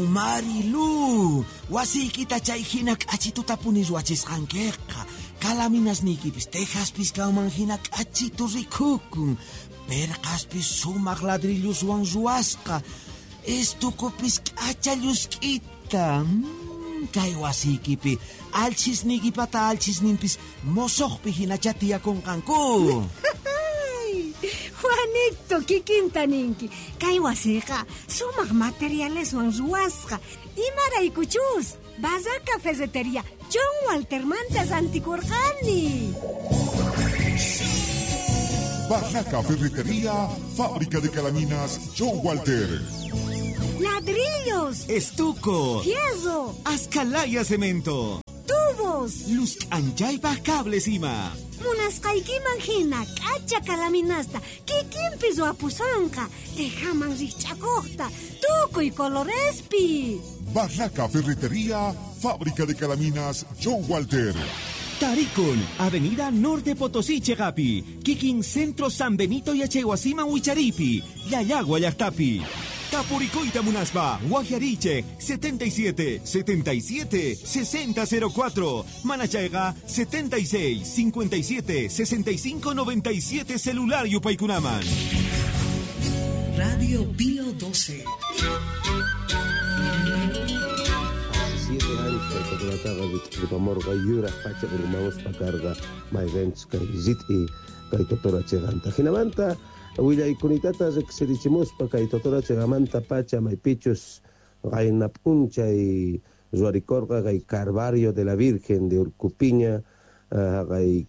Marilu, wasiykita chay hina k'achitutapuni ruwachisqankiqa. Kalaminasniykipis tejaspis kanman hina k'achitu rikukun. Perqaspis sumaq ladrilloswan ruwasqa. Estukupis k'acha llusk'ita. Kay wasiykipi alchhisniykipata alchhisninpis mosoqpi hinachá tiyakunqanku. Juanito, kikinta ninki. Kay wasiqa sumaq materialeswan ruwasqa. Imaraykuchus Barraca Ferretería John Waltermanta rantikurqani. Barraca Ferretería, fábrica de calaminas John Walter. Ladrillos, Estuco, fierro, Ascalaya cemento, tubos, luz k'anchaypaj cables ima. Munasqaykiman hina k'acha kalaminasta kikinpi ruwapusanqa, tejaman rikch'akuqta, tukuy colorespi. Barraca Ferretería, fábrica de calaminas John Walter. Tarikun, Avenida Norte Potosí Chegapi, Kikin Centro San Benito Yachaywasiman Wicharipi, Llallagua llaqtapi. Tapurikuyta munaspa, Guajariche, 77 77 60 04, Manachayqa, 76 57 65 97 celular yupaykunaman. Radio Pío 12. 7 años kay totorataqa rit'irpamurqa yuraq pacha urmamuspa karqa mayqinchus kay rit'i kay totora chiqanta. Jinamanta willaykunitata riqsirichimuspa kay totora chiqamanta pacha maypichus qayna p'unchay ruwarikurqa kay Calvario de la Virgen de Urcupiña, kay,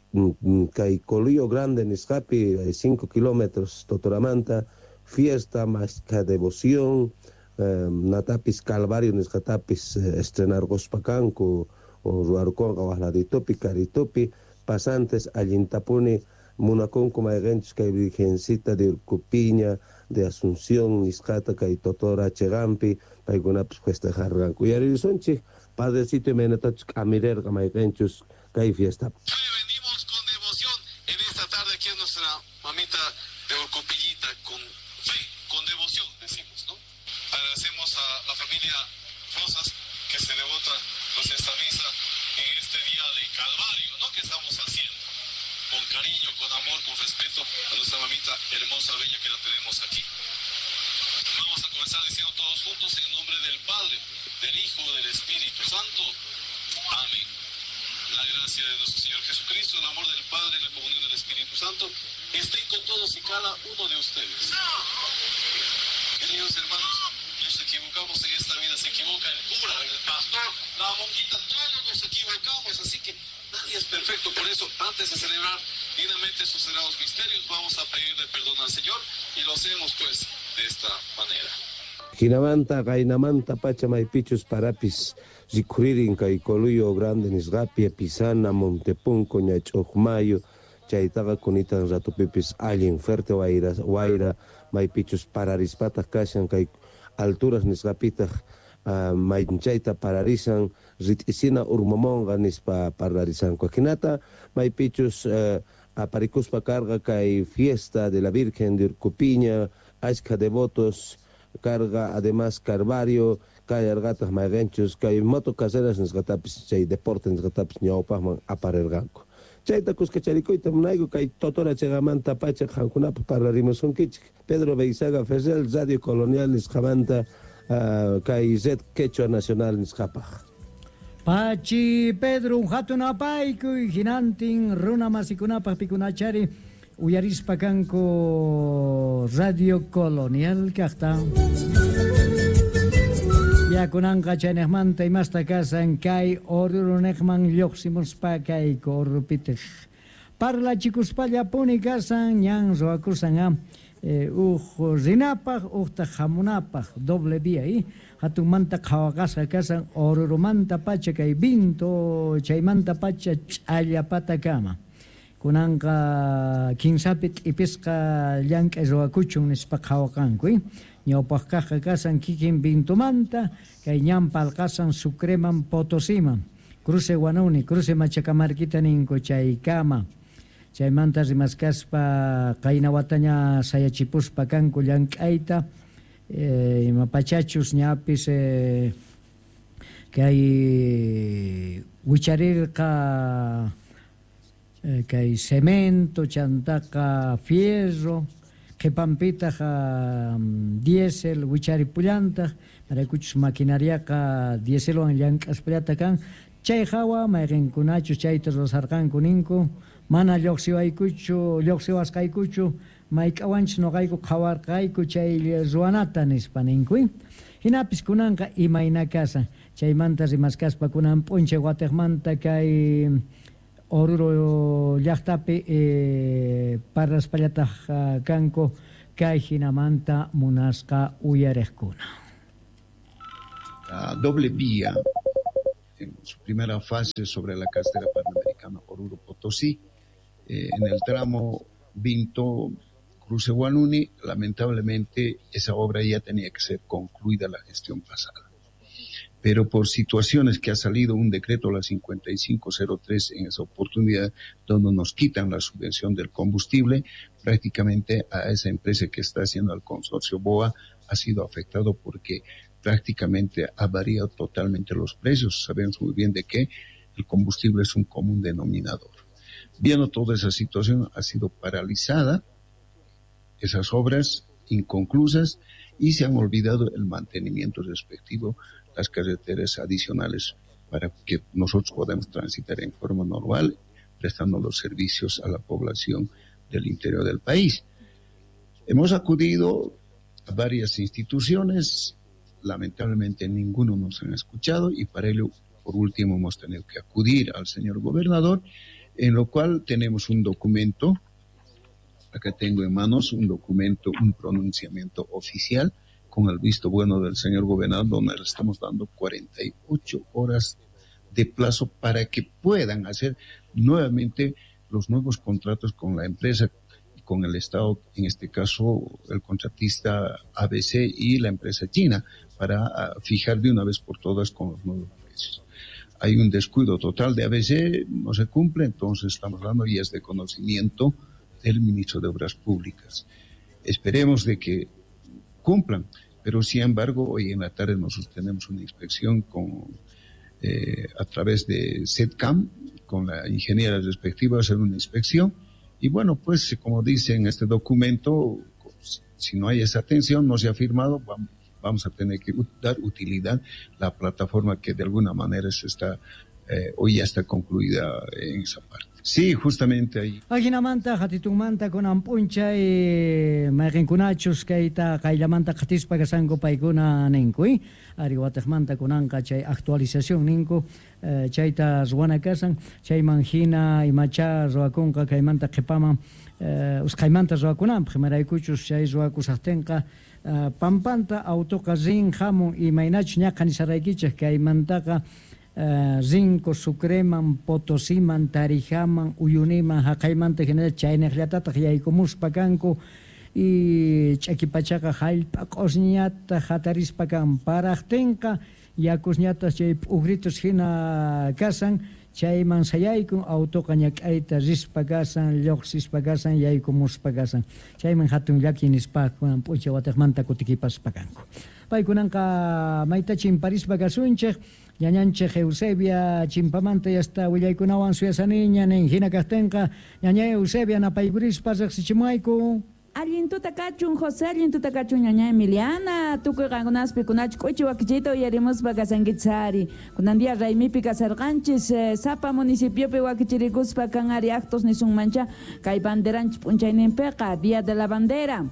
kay Coluyo Grande nisqapi, hay 5 kilómetros totoramanta, fiesta mashkha devoción, natapis Calvario nisqatapis estrenarquspa kanku, o ruwarkunqa waj laditupi, karitupi, pasantes allintapuni munakunku mayqinchus kay Virgencita de Urcupiña, de Asunción nisqata kay totora chiqanpi, paykunapis festejarqanku. Uyaririsunchik, padrecito imaynatachus k'amirerqa mayqinchus kay fiesta. Venimos con devoción en esta tarde aquí en nuestra mamita de Urcupillita, con fe, con devoción, decimos, ¿no? Agradecemos a la familia Rosas que se devota pues esta misa en este día de Calvario, ¿no? Que estamos haciendo con cariño, con amor, con respeto a nuestra mamita hermosa, bella que la tenemos aquí. Vamos a comenzar diciendo todos juntos en nombre del Padre, del Hijo, del Espíritu Santo. Amén. La gracia de nuestro Señor Jesucristo, el amor del Padre y la comunión del Espíritu Santo estén con todos y cada uno de ustedes. Queridos hermanos, nos equivocamos en esta vida, se equivoca el cura, el pastor, la monjita, todos nos equivocamos, así que nadie es perfecto. Por eso, antes de celebrar dignamente sus sagrados misterios, vamos a pedirle perdón al Señor y lo hacemos pues de esta manera. Jinamanta, qaynamanta pacha maypichus parapis rikhuririn kay Coluyo Grande nisqapi, Pisana, Montepunco, Ñach'uqmayo, chaytaqa kunitan ratupipis allin fuerte wayra, wayra maypichus pararispataq kashan kay alturas nisqapitaq, maychayta pararisan, rit'isina urmamonqa nispa parlarisanku. Jinata maypichus aparikuspa karqa kay fiesta de la Virgen de Urcupiña, ashkha devotos carga además Calvario, kallarqataq mayqinchus kay moto carreras nisqatapis chay deporte nisqatapis ñawpaqman aparirqanku. Chayta kuskacharikuyta munayku kay totora chiqamanta pacha qankunapaq parlarimusunkichik. Pedro Beizaga Ferrer, Radio Colonial nisqamanta, kay Red Quechua Nacional nisqapaq. Pachi Pedro, hatun apaykuy hinantin runa masikunapaq pikunachari uyarispa kanku Radio Colonial kaqta. Yakunanqa chaynejmanta imasta kasan kay Orurunejman lluqsimuspa kay Orupitej. Parlachikuspallapuni kasan ñan ruwakusan, uj rinapaq, ujtaq hamunapaq, doble vía, Hatunmanta qhawaqasqa kasan Orurumanta pacha kay vinto, chaymanta pacha ch'allapatakama. Kunanqa kinsapi t'ipisqa llank'ay ruwakuchun nispa qhawaqanku, Ñawpaq kaqqa kasan kikin vintomanta, kay ñan palqasan Sucreman Potosiman, cruce Huanuni, cruce Machacamarquita ninku chaykama. Chaymanta rimaskaspa qayna wataña sayachipuspa kanku llank'ayta, Imapachachus ñapis kay wicharirqa kay cemento chantaqa fierro qhipanpitaq diésel wicharipullantaq maraykuchus maquinariaqa dieselwan llank'aspallata kan chay hawa mayqinkunachus chayta ruwasarqanku ninku mana lluqsiwasqaykuchu mayk'awanchus nuqayku qhawarqayku chay ruwanata nispa ninku. Hinapis kunanqa imayna kasan chaymanta rimaskaspa kunan p'unchay watiqmanta kay Oruro llaqtapi parlaspallataq kanku kay hinamanta munasqa uyariqkuna. La doble vía en su primera fase sobre la carretera panamericana Oruro Potosí, en el tramo Vinto Cruce Huanuni, lamentablemente esa obra ya tenía que ser concluida la gestión pasada. Pero por situaciones que ha salido un decreto, la 5503, en esa oportunidad, donde nos quitan la subvención del combustible, prácticamente a esa empresa que está haciendo el consorcio BOA ha sido afectado porque prácticamente ha variado totalmente los precios. Sabemos muy bien de que el combustible es un común denominador. Viendo toda esa situación, ha sido paralizada esas obras inconclusas y se han olvidado el mantenimiento respectivo, las carreteras adicionales para que nosotros podamos transitar en forma normal, prestando los servicios a la población del interior del país. Hemos acudido a varias instituciones, lamentablemente ninguno nos han escuchado y para ello, por último, hemos tenido que acudir al señor gobernador, en lo cual tenemos un documento. Acá tengo en manos un documento, un pronunciamiento oficial con el visto bueno del señor gobernador, donde le estamos dando 48 horas de plazo para que puedan hacer nuevamente los nuevos contratos con la empresa y con el Estado, en este caso el contratista ABC y la empresa china, para fijar de una vez por todas con los nuevos precios. Hay un descuido total de ABC, no se cumple, entonces estamos hablando y es de conocimiento del ministro de Obras Públicas. Esperemos de que cumplan, pero sin embargo hoy en la tarde nosotros tenemos una inspección con a través de SETCAM, con la ingeniera respectiva, hacer una inspección y bueno, pues como dice en este documento, si no hay esa atención, no se ha firmado, vamos a tener que dar utilidad la plataforma que de alguna manera se está hoy ya está concluida en esa parte. Sí, justamente ahí. Ajinamanta, hatitunmanta, kunan p'unchay mayqinkunachus kayta qayllamanta qatispa kasanku paykuna ninku, ari watiqmanta kunanqa chay actualización ninku, chayta ruwana kasan, chayman hina imacha ruwakunqa kaymanta qhipaman usqhaymanta ruwakunanpaq, imaraykuchus chay ruwakusaqtinqa pampanta autoqa rin hamun imaynachus ñaqa nisaraykichik kaymantaqa Rinco, Sucreman, Potosiman, Tarijaman, Uyuniman, haqaymanta hinalla chayniqllatataq yaykumuspa kanku y ch'akipachaqa hallp'a q'usñata hatarispa kan paraqtinqa yakusñataq chay p'ukritus hina kasan chayman sayaykun autoqa ñak'ayta rispa kasan lluqsispa kasan yaykumuspa kasan chayman hatun llaki nispa kunan p'unchay watiqmanta kutikipaspa kanku. Paykunanqa mayta chimparispa kasunchik ñañanchik Eusebia chimpamanta yasta willaykunawan suyasaniña nin hina kaqtinqa ñaña Eusebia napaykurispa riqsichimuayku. Allin tuta kachun José, allin tuta kachun ñaña Emiliana, tukuy qankunaspi kunachu k'uchi wakichiyta uyarimuspa kasankichari. Kunan día raymipi kasarqanchis, sapa municipiopi wakichirikuspa kan ari actos nisunmancha kay banderanchis p'unchayninpiqa, Día de la Bandera.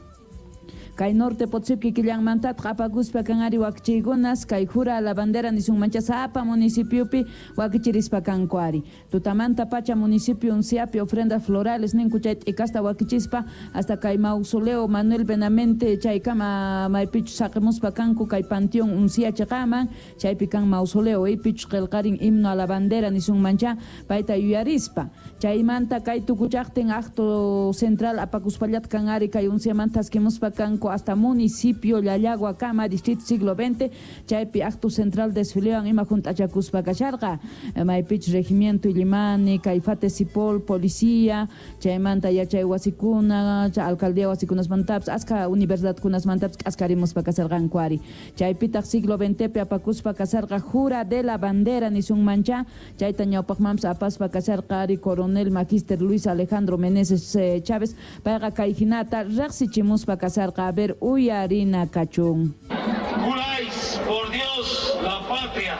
Kay norte Potosí killanmantataq apakuspa kan ari wakichiykunas kay jura la bandera nisunmancha sapa municipiopi wakichirispa kanku ari. Tutamanta pacha municipio unciapi ofrendas florales ninku chay t'ikasta wakichispa hasta kay mausoleo Manuel Benamente chaykama maypichu saqimuspa kanku kay panteón uncia chaqaman chaypi kan mausoleo ipichu qillqarin himno a la bandera nisunmancha payta yuyarispa. Chaymanta kay tukuchaqtin acto central apakuspallat kan ari kay unciamanta askimuspa kanku Kanku hasta municipio Llallagua distrito siglo XX, chaypi acto central desfilewan ima junt'achakuspa kasharqa, maypich regimiento Illimani, Caifate Sipol, policía, chaymanta yachay wasikuna, alcaldía wasikunasmantapis, aska universidadkunasmantapis k'askarimuspa kasharqanku ari. Chaypitaq siglo XXpi apakuspa kasharqa jura de la bandera nisunmancha, chayta ñawpaqmanpis apaspa kasharqa ari coronel magíster Luis Alejandro Meneses Chávez, payqa kay hinata riqsichimuspa kasharqa. A ver, uyarina kachun. Juráis por Dios, la patria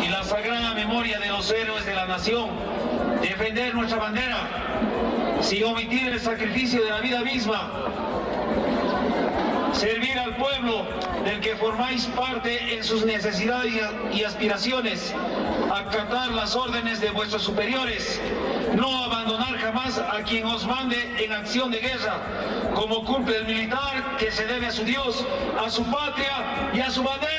y la sagrada memoria de los héroes de la nación, defender nuestra bandera, sin omitir el sacrificio de la vida misma, servir al pueblo del que formáis parte en sus necesidades y aspiraciones, acatar las órdenes de vuestros superiores, no abandonar jamás a quien os mande en acción de guerra, como cumple el militar que se debe a su Dios, a su patria y a su bandera.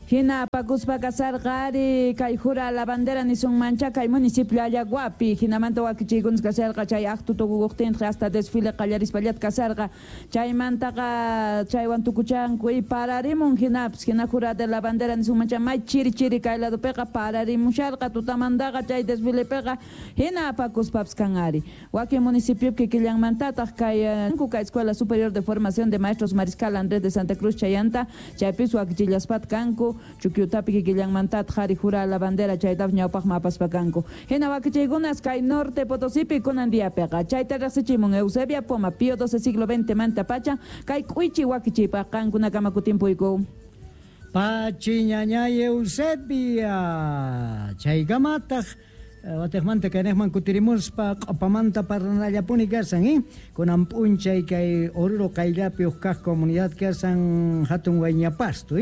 Hina apakuspa kasarqa ari kay jura la bandera nisunmancha kay municipio Llallaguapi, hinamanta wakichiykunas kasarqa chay acto tukukuqtinqa hasta desfile qallarispallat kasarqa, chaymantaqa chaywan tukuchanku y pararimun hinapis, hina jura de la bandera nisunmancha may chiri chiri kay ladopiqa pararimusharqa tutamantaqa chay desfilepiqa hina apakuspapis kan ari. Wakin municipiopi kikillanmantataq kay Escuela Superior de Formación de Maestros Mariscal Andrés de Santa Cruz chayanta, chaypis wakichillaspat kanku, Chukyutapi kikillanmantataq ari jura la bandera chaytapis ñawpaqman apaspa kanku. Hina wakichiykunas kay norte Potosipi kunan diapiqa chayta riqsichimun Eusebia Poma, Pío XII siglo XX manta pacha, kay k'uychi wakichiypaq qankunakama kutimpuyku. Pachi ñañay Eusebia, chaykamataq watejmanta kaynejman kutirimuspa q'opamanta parlanallapuni kasan, kunan p'unchay kay Oruro qayllapi uj kaq comunidad kasan hatun Wayñapasto,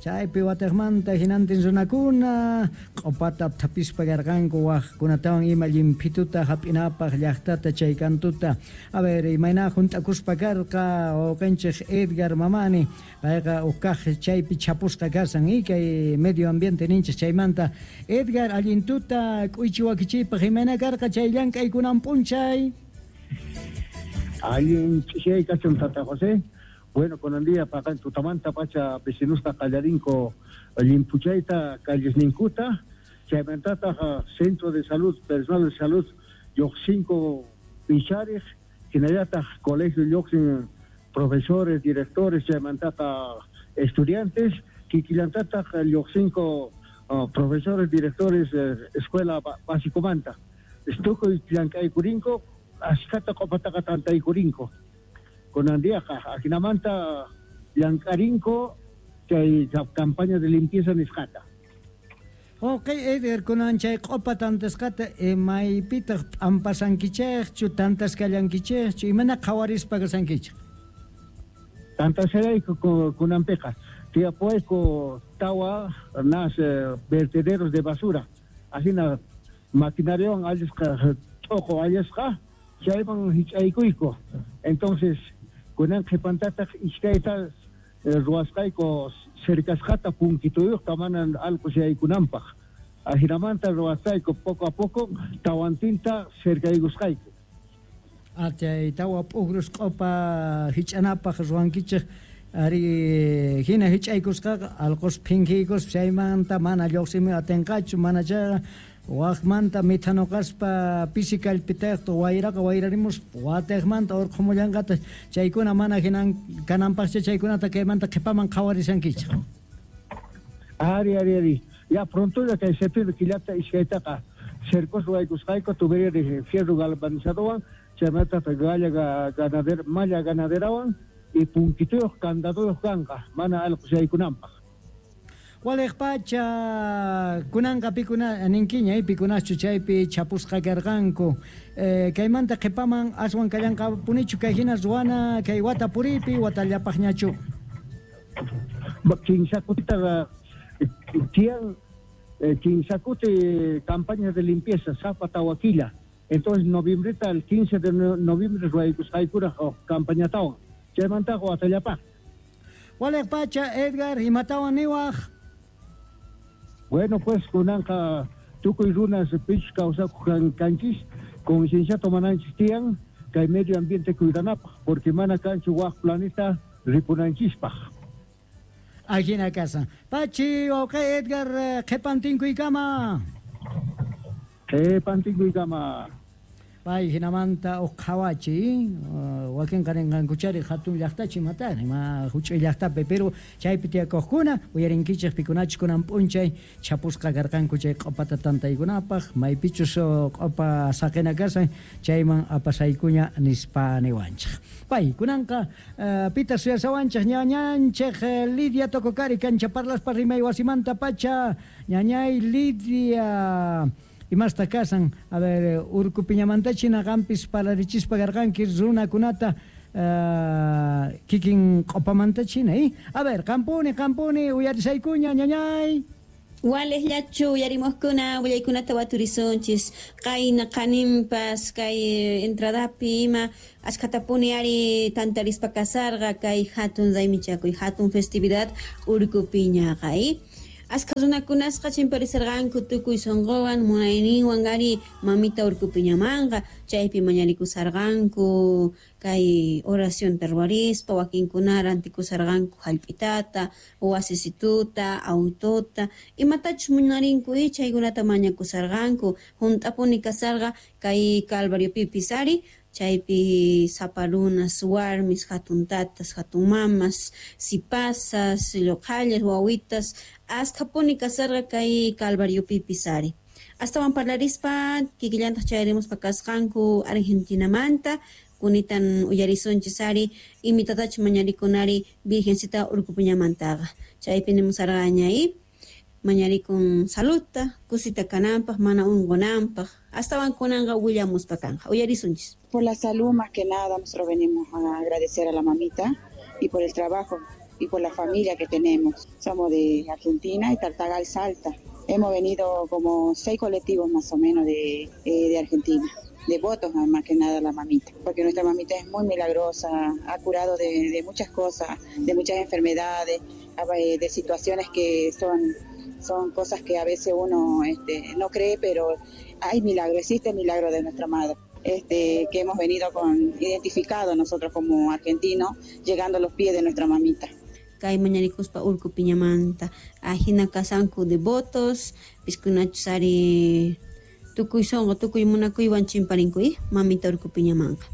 chaypi watejmanta hinantin runakuna q'opata thapispa karqanku wajkunatawan ima llimphituta hap'inapaq llaqtata chay kantuta. A ver, imayna junt'akuspa karqa wawqinchik Edgar Mamani, payqa uj kaq chaypi chapusqa kasan, kay medio ambiente ninchik chaymanta. Edgar, allintuta k'uychi wakichiypaq imayna karqa chay llank'ay kunan p'unchay? Allin ch'isiyay kachun tata José. Bueno, kunan día paqan tutamanta pacha vecinusta qallarinko llimpuchayta callesninkuta, chaymantataq centro de salud, personal de salud lluqsinko pichariq, hinallataq colegio lluqsin profesores, directores, chaymantaqa estudiantes, kikillantataq lluqsinko profesores, directores, escuela básicomanta. Tukuy llank'aykurinko, ashkata q'opataqa tantaykurinko. Kunan diaqa ajinamanta llank'arinko chay campaña de limpieza nisqata. Ok, Edgar, kunan chay q'opa tantasqata maypitaq p'ampasankichikchu, tantasqallankichikchu, imana qhawarispa kasankichik? Tantasqallayku kunanpiqa. Tiyapuwayku tawa nas vertederos de basura. Ajina maquinariawan allisqa t'uqu allisqa chayman hich'aykuyku. Entonces kunan qhipantataq iskayta ruwasqayku cercasqata punkituyuqta mana allqu yaykunanpaq. Ajinamanta ruwasqayku poco a poco tawantinta cercaykusqayku. Chay tawa p'ukrus q'opa hich'anapaq ruwankichik ari hina hich'aykusqaqa allqus phinkiykuspa chaymanta mana lluqsimuy atinqachu, mana chayqa waqmanta mithanuqaspa pisi kallpitayqta wayraqa wayrarimuspa watejmanta urqhumullanqata, chaykuna mana hinan kananpaqcha chaykunata kaymanta qhipaman qhawarishankichik. Ari ari ari. Ya pronto ya kay septiembre killata iskaytaqa cercos ruwaykusqayku tubería de fierro galvanizadowan chaymantataq galla ganadera malla ganaderawan y punkituyuq candaduyuq kanqa mana allqus yaykunanpaq. Waliq pacha kunanqa pikuna ninkiña pikunaschu chaypi chapusqa karqanku, kaymanta qhipaman aswan kallanqapunichu kay hina ruwana kay wata puripi watallapaqñachu? Kinsa kutitaqa tiyan kinsa kuti campaña de limpieza sapa tawa killa. Entonces noviembreta el 15 de noviembre ruwaykusqaykuraq campañatawan chaymantaqa watallapaq. Waliq pacha Edgar, imatawan niwaq? Bueno, pues kunanqa tukuy runas pichus kawsakuq kanchis, conciencia tomananchis tiyan, Kay medio ambiente cuidanapaj, porque mana kanchu waj planeta ripunanchispaj. Ajina kasan. Pachi, wawqi Edgar, qhipantinkuykama. Qhipantinkuykama. Pay hinamanta uj qhawachi, wakinqa rinqankuchari hatun llaqtachi matari, ma huch'uy llaqtapi, pero chaypi tiyakuqkuna uyarinkichik pikunachus kunan p'unchay chhapusqa karqanku chay q'opata tantaykunapaq, maypichus q'opa saqina kasan chayman apasaykuña nispa niwanchik. Pay kunanqa pita suyasawanchik ñañanchik Lidia Tococari kancha parlaspa rimay wasimanta pacha, ñañay Lidia. Imasta kasan, a ver, Urkupiñamantachi naqanpis parlarichispa karqanki runakunata kikin q'opamantachina, A ver, qampuni, qampuni, uyarisaykuña, ñañay. Waliqllachu uyarimuqkuna willaykunata waturisunchis qayna qaninpas kay entradapi ima ashkhatapuni ari tantarispa kasarqa kay hatun raymichakuy hatun festividad Urkupiñaqa, Ashkha runakunasqa chimparisarqanku tukuy sunquwan munayninwan ari mamita Urkupiñamanqa chaypi mañarikusarqanku kay oracionta ruwarispa wakinkuna rantikusarqanku hallp'itata wasisituta autota imatachus munarinku chaykunata mañakusarqanku hunt'apuni kasarqa kay Calvariopipis ari chaypi sapa runas warmis hatun tatas hatun mamas sipasas lluqhallas wawitas askhapuni kasarqa kay Calvariopipis ari. Astawan parlarispa kikillantaq chayarimuspa kasqanku Argentinamanta kunitan uyarisunchis ari imitatachus mañarikunari Virgencita Urkupiñamantaqa chaypi nimusarqaña mañarikun saludta kusita kananpaq mana unqunanpaq astawan kunanqa willamuspa kanqa uyarisunchis. Por la salud más que nada nosotros venimos a agradecer a la mamita y por el trabajo y por la familia que tenemos. Somos de Argentina y Tartagal, Salta. Hemos venido como 6 colectivos más o menos de Argentina, devotos más que nada a la mamita, porque nuestra mamita es muy milagrosa, ha curado de muchas cosas, de muchas enfermedades, de situaciones que son cosas que a veces uno no cree, pero hay milagro, existe el milagro de nuestra madre. Que hemos venido con identificado nosotros como argentinos, llegando a los pies de nuestra mamita. Kay mañarikuspa Urkupiñamanta ajina kasanku devotos piskunachus ari tukuy sunqu tukuy munakuywan chimparinku mamita Urkupiñamanqa.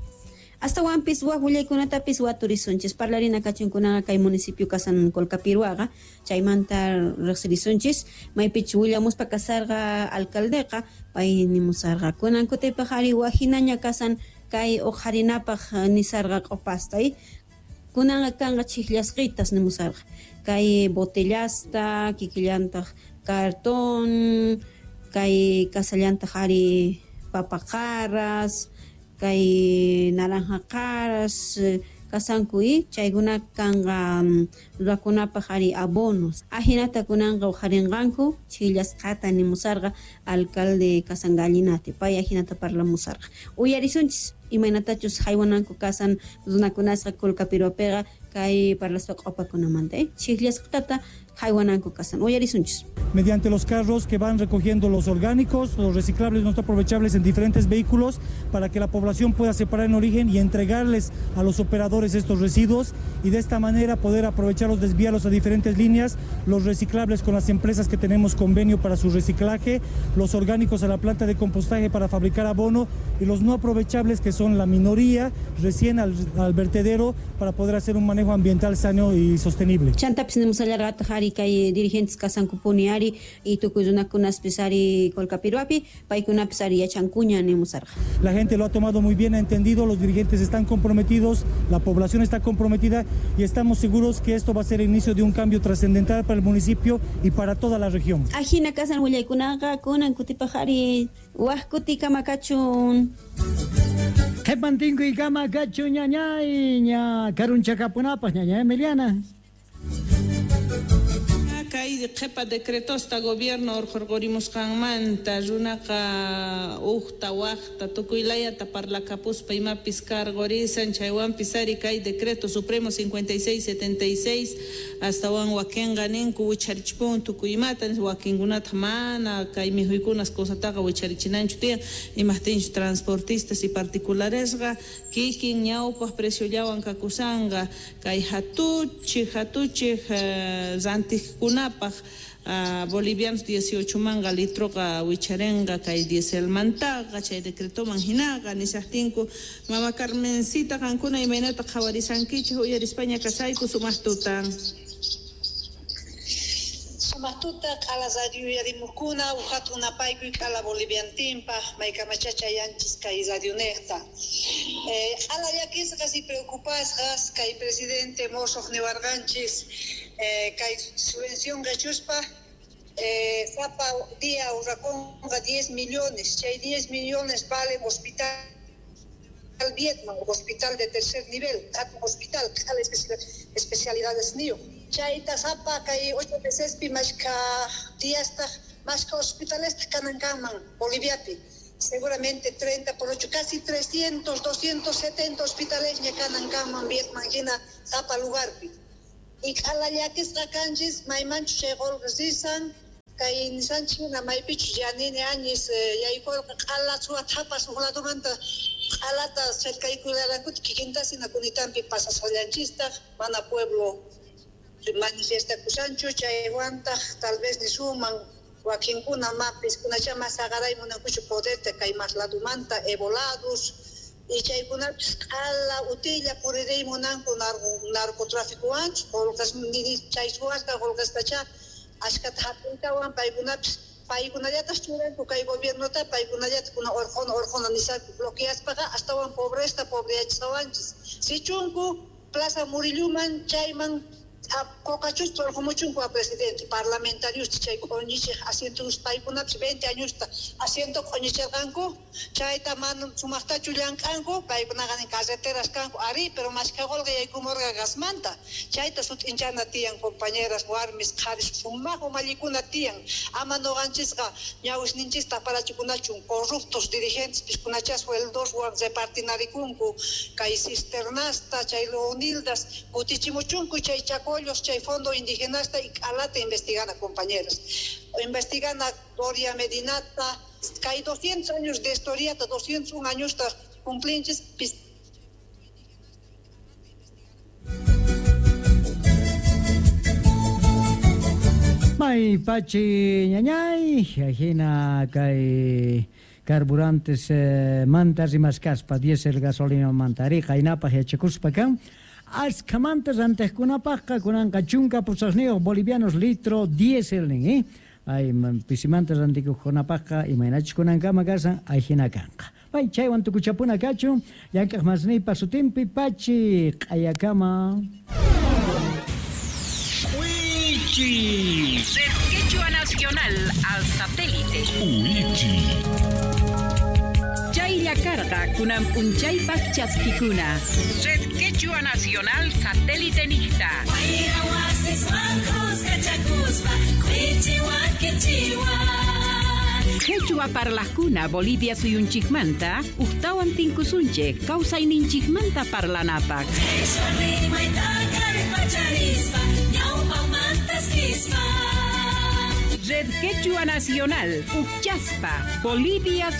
Astawanpis waj willaykunatapis waturisunchis parlarina kachunkunaqa kay municipio kasan Colcapiruaqa chaymanta riqsirisunchis maypichus willamuspa kasarqa alcaldeqa pay nimusarqa kunan kutipaq ari wajinaña kasan kay uqharinapaq nisarqa q'opasta kunanqa kanqa chhiqllasqitas nimusarqa kay botellasta kikillantaq cartón kay kasallantaq ari papaqaras kay naranja qaras kasanku chaykuna kanqa runakunapaq ari abonos ajinata kunanqa uqharinqanku chhillasqata nimusarqa alcalde Kasangallinati pay ajinata parlamusarqa uyarisunchis imaynatachus haywananku kasan runakunasqa Colcapiruapiqa kay parlaspa q'opakunamanta chhiqllasqatata haywananku kasan uyarisunchis. Mediante los carros que van recogiendo los orgánicos, los reciclables no aprovechables en diferentes vehículos para que la población pueda separar en origen y entregarles a los operadores estos residuos y de esta manera poder aprovecharlos, desviarlos a diferentes líneas, los reciclables con las empresas que tenemos convenio para su reciclaje, los orgánicos a la planta de compostaje para fabricar abono y los no aprovechables que son la minoría recién al vertedero para poder hacer un manejo ambiental sano y sostenible. Chantapis nimusallarqataq ari kay dirigentes kasankupuni ari y tukuy runakunaspis ari Colcapiruapi paykunapis ari yachankuña nimusarqa. La gente lo ha tomado muy bien, ha entendido, los dirigentes están comprometidos, la población está comprometida y estamos seguros que esto va a ser el inicio de un cambio trascendental para el municipio y para toda la región. Ajina kasan willaykunaqa kunan kutipaq ari waj kutikama kachun. Qhipantinkuykama kachun ñañay ña karunchakapunapaq ñaña Emiliana. Kay Kay qhipa decretosta gobierno urqurqurimusqanmanta runaqa uqta waqta tukuylayata parlakapuspa imapis karqurisan chaywanpis ari kay decreto supremo 5676 astawan wakinqa ninku wicharichpun tukuy imata wakinkunata mana kay mikhuykunas cosataqa wicharichinanchu tiyan imaqtinchu transportistas y particularesqa kikin ñawpaq preciollawan kakusanqa kay hatuchik rantiqkunapaq bolivianos 18 manga litroqa wicharenqa kay dieselmantaqa chay decretoman hinaqa nisaqtinku mama Carmencita qankuna imaynata qhawarisankichik uyarispaña kasayku sumaq tutan. Sumaq tuta q'ala radio uyarimukuna uqhatun napaykuy q'ala boliviantinpaq maykamachacha yanchis kay radionejta. Q'ala llakisqas y preocupasqas kay presidente mosoq niwarqanchis kay subvención qechuspa sapa día urrakunqa 10 millones, chay 10 millones valen hospital Vietnam, hospital de tercer nivel, hatun hospital, q'ala especialidades niyo. Chayta sapa kay 8 mesespi mashka diastaq mashka hospitalesta kanan kanman Boliviapi. Seguramente 30 por 8, casi 300, 270 hospitales ña kanan kanman Vietnam hina sapa lugarpi. Y q'ala llakisqa kanchis maymanchu chay qullqi risan kay nisanchik hina maypichus Yanini Áñez yaykurqa q'ala suwa thapas huk ladumanta q'alata cercaykullarankuta kikintas hina kunitampi pasasqallanchistaq mana pueblo manifestakusanchu chaywantaq tal vez nisuman wakinkuna mapis kunacha mas aqaray munankuchu poderta kay mas ladumanta evolados y chaykunapis q'ala utilla puririy munanku narcotraficowanchu qullqas chay suwasqa qullqastacha ashkata hap'iytawan paykunapis paykunallatas churanku kay gobiernota paykunallata kuna urquna nisanku bloqueaspaqa astawan pobresta pobreyachisqawanchis sichunku Plaza Murilluman chayman Cocachusta urqumuchunku a presidente parlamentarios chay q'uñichiq asientos paykunapis 20 añosta asiento q'uñichirqanku chayta mana sumaqtachu llank'anku paykunaqa nin carreteras kanku ari pero mashkha qullqi yaykumurqa gasmanta chayta sut'inchana tiyan compañeras warmis qharis sumaq umallikuna tiyan ama nuqanchisqa ñawisninchista parachikunachun corruptos dirigentes piskunacha sueldoswan repartinarikunku kay cisternasta chay leonildas kutichimuchunku chay chaco chay fondo indigenasta y q'alata investigana compañeras. Investigana Doria Medinata, kay 200 años de historia, 201 años cumplinchis. May pachi ñañay, ajina kay carburantes manta rimascaspa, diésel gasolina manta riqa inapaq yachakuspa kan. Ashkamanta rantiqkunapaqqa kunanqa chunka pusaqniyuq bolivianos litro diésel nin, Ay pisimanta rantikuqkunapaqqa imaynachus kunankama kasan ayhina kanqa. Pay chaywan tukuchapuna kachun llank'aq masniypa sutinpi pachi q'ayakama. Uichi. Red Quechua Nacional al satélite. Uichi. Chaylla karqa kunan p'unchaypaq chaskikuna. Red Quechua Nacional satélite niqta. Quechua parlajkuna Bolivia suyunchikmanta uqtawan tinkusunchik kawsayninchikmanta parlanapaq. Red Quechua Nacional, Uchaspa, Bolivia.